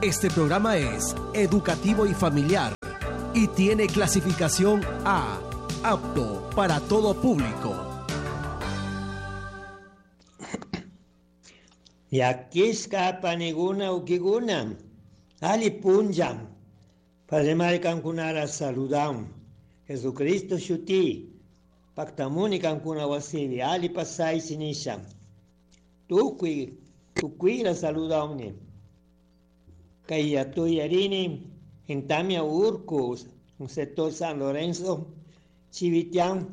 Este programa es educativo y familiar y tiene clasificación A, apto para todo público. Yakishka paniguna ukiguna, ali punjam, Padre Mari kankunara saludam, Jesucristo shuti, paktamuni kankuna wasivi, ali pasai sinisha, tukui, tukuira saludamni, kay tuyarini, en Tamia Urco, un sector San Lorenzo, Chivitián,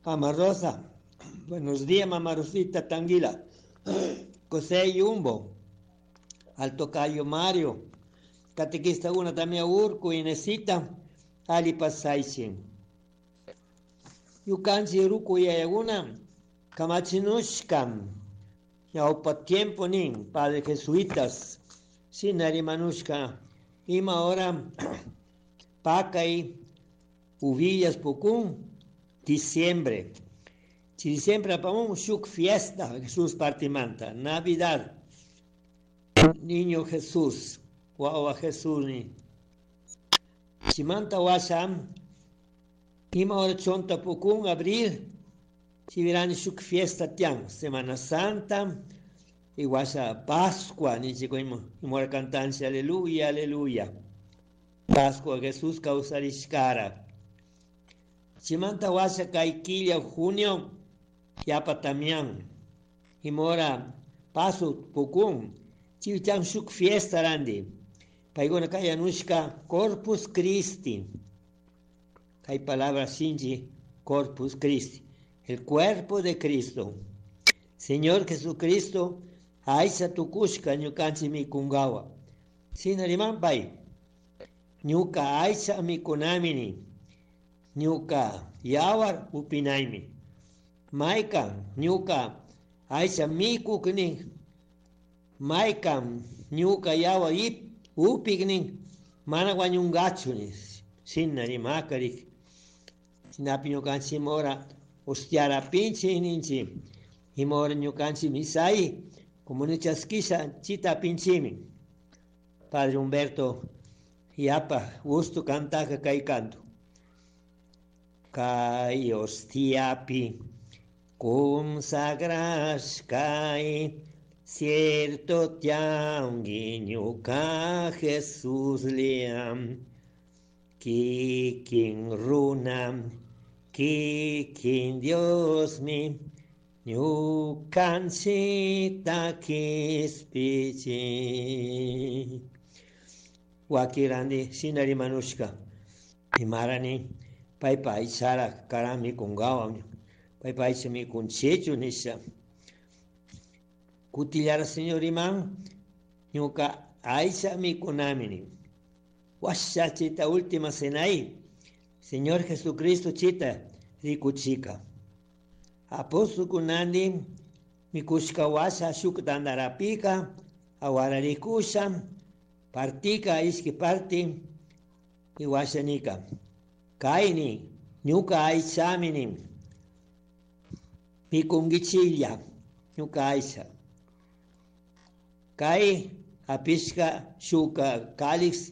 Mama Rosa. Buenos días, Mamá Rosita Tanguila. José Yumbo, Alto Cayo Mario, Catequista una Tamia Urco, Inesita, Ali Pasaichin. Yukanchi Ruku Yayaguna, Kamachinushkam, Yaupa tiempo nin, Padre Jesuitas, Sinarimanushka, Ima ahora Pacay, Uvillas Pukún, diciembre. Si diciembre apamón, shuk fiesta, Jesús partimanta, Navidad, Niño Jesús, guagua Jesús ni. Chimanta wasam, ima hora chonta pukún, abril, si verán shuk fiesta tian, Semana Santa, y washa Pascua, ni chico imora cantancia, aleluya, aleluya. Pascua, Jesús causarishkara. Chimanta washa kaikilla junio, yapa tamián. Imora paso pukún, chivicham shuk fiesta randi. Paigona kayanushka Corpus Christi. Hay palabra sinji, Corpus Christi. El cuerpo de Cristo. Señor Jesucristo, aisha tukushka ñukanchi mikungawa. Sinariman pay. Ñuka aisha mikunamini. Ñuka yawar upinaymi. Maykan ñuka aisha mikukni. Maykan ñuka yawar ip upiknin. Mana wañungachu Sinarimakari. Sinapi ñukanchi mora ostiara pinchi ninchi. Imora ñukanchi misai. Como chaskisha chita pinchimi. Padre Humberto yapa gusto cantaka kay canto. Kay ostiapi consagrashkay cierto tiangui ñuka Jesús liam kikin runa kikin Dios mi ñukanchita kispichi. Wakirandi sinari manushka imarani paypa aychara karami kungawa paypa aycha mikunchichu nisha. Kutillara Señor iman ñuka aycha mikunamini. Washa chita última cenai Señor Jesucristo chita rikuchika. Apóstol kunandi mikushka washa shuk tandarapika awararikusha partika ishki parti y washanika. Kaini ñuka aychamini mikungichilla ñuka aycha. Kay apishka shuka calix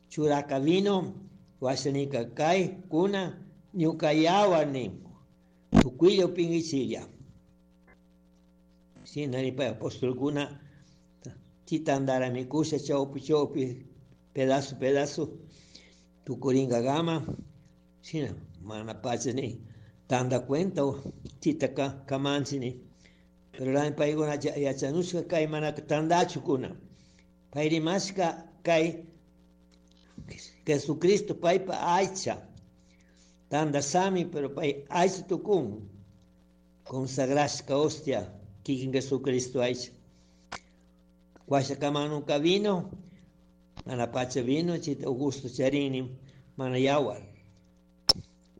churaka vino washanika kay kuna ñuka yawarni tukuylla upingichilla. Sinaripa apóstol kuna chitandara mikusha chawpi chawpi pedazo pedazo tukuringa gama sina mana pacha ni tanda cuenta chita kamanchi ni. Pero la payguna yachanushka kay mana tandachu kuna. Payrimashka kay Jesucristo paypa aycha. Tanda sami pero pay aycha tukun. Consagrashka hostia kikin Jesucristo aycha. Washa kamanuka vino, mana pacha vino, chita Augusto charini, mana yawar.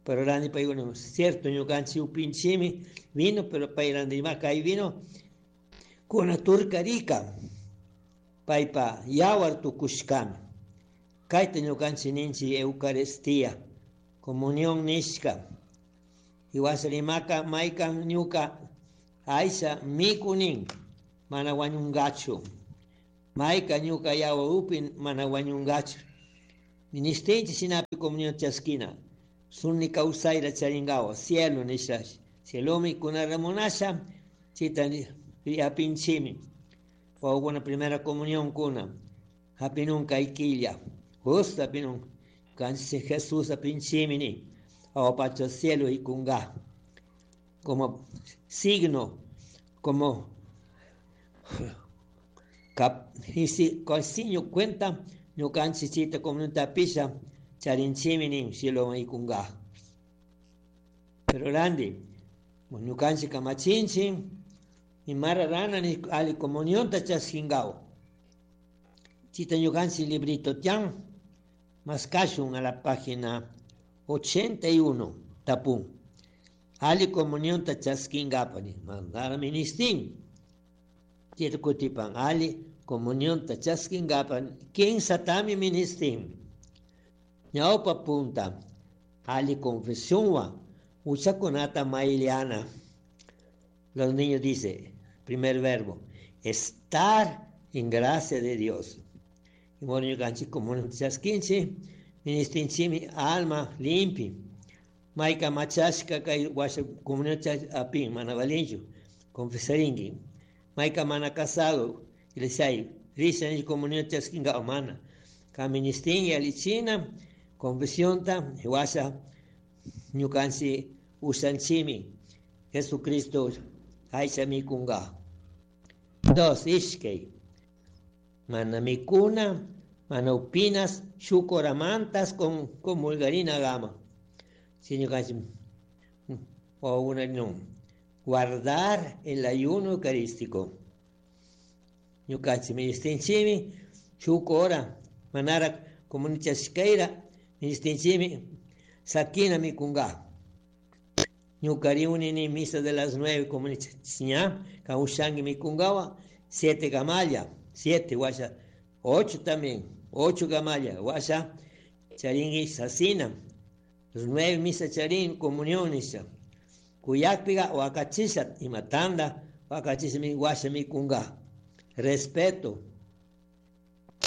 Pero randi payguna, cierto, ñukanchik upinchimi vino, pero pay randi ima kay vino, kuna turkarika, paypa yawar tukushkami. Kayta ñukanchik ninchik Eucaristía, comunión nishka. Y washa maykan ñuka aycha mikunin, mana wañungachu. Mayka ñuka yawa upi mana wañungachu. Ministinchi shinapi comunión chaskina. Sunni kawsayra charingawa cielo nisha. Cielomi kunara munasha chita yapinchimi. Wawakuna primera comunión kuna. Hapinun kay killa. Justo hapinun. Kanchi Jesús hapinchimi ni. Awapacha cielo y kunga. Como signo, como signo cuenta ñukanchik chita comunidad pisha charinchimi nin cielo y kunga. Pero grande, ñukanchik kamachinchi imara rana ni ali comunión ta chaskingaw. Chita ñukanchik librito tian maskashun a la página 81 tapun. Ali comunión ta chaskingapani mandara ministin. Chita kutipan ali comunión ta chaskingapan kinsatami ministin. Ñawpa punta ali confesión wa uchakunata mailiana. Los niños dice, primer verbo, estar en gracia de Dios. Y bueno, ñukanchik comunión chaskinchi ministinchimi alma limpi. Mayka machashka kay washa comunión apin mana valinchu confesarinki. Mayka mana casado iglesia risha comunión chaskinga mana. Kaministin alichina confesión ta washa ñukanchik ushanchimi Jesucristo aycha mikunga. Dos, ishkay. Mana mikuna, mana upinas, shukoramantas con comulgarina gama. Si ñukanchik o una no. Guardar el ayuno eucarístico. Ñukanchik ministinchimi, shukora, manara comunichashkeira, ministinchimi, sakina mikunga. Ñukariuni ni misa de las 9 comunichashña, kaushangi mikungawa, 7 gamalla, 7 guasha, 8 también, 8 gamalla, guasha, charingi sasina, los 9 misa charín, comuniones, kuyakpiga wakachisha, imatanda, wakachisha mi guasha mikunga. Respeto.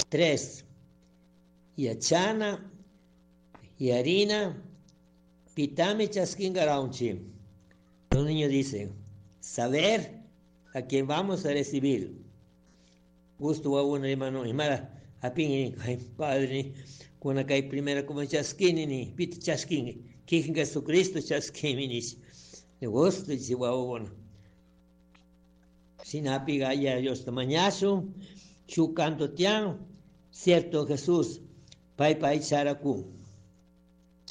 3. Yachana, yarina, pitami chaskinga raunchi. Los niños dicen, saber a quién vamos a recibir. Gusto wa una hermano, imara, apin, ay, padre, kuna kay primera como chaskini ni, pit chaskingi, kikin Jesucristo chaskimi ni. De gusto, dice wa una. Sinapiga ya Dios tamañazo, chu canto tian, cierto Jesús, pai pai characu.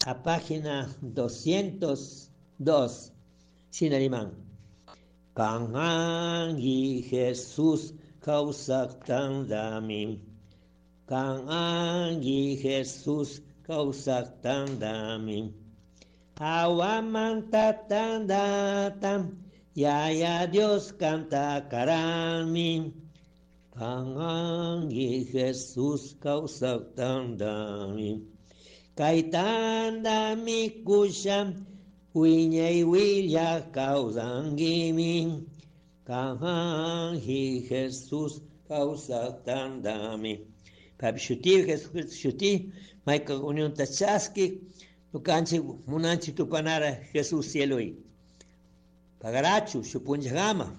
A página 202, Sinarimán. Kanangi Jesús kawsaqtandami. Kanangi Jesús kawsaqtandami. Awamantatandatam, Yaya Dios canta karami. Kanangi Jesús kawsaqtandami. Kaitandami kusham, wiñay willa kawsangimi. Kanangi Jesús kawsaqtandami. Papi shuti, Jesucristo shuti, mayka unión tachaski, ñukanchik munanchik tupanara Jesús cielo. Pagarachu, shupunchagama.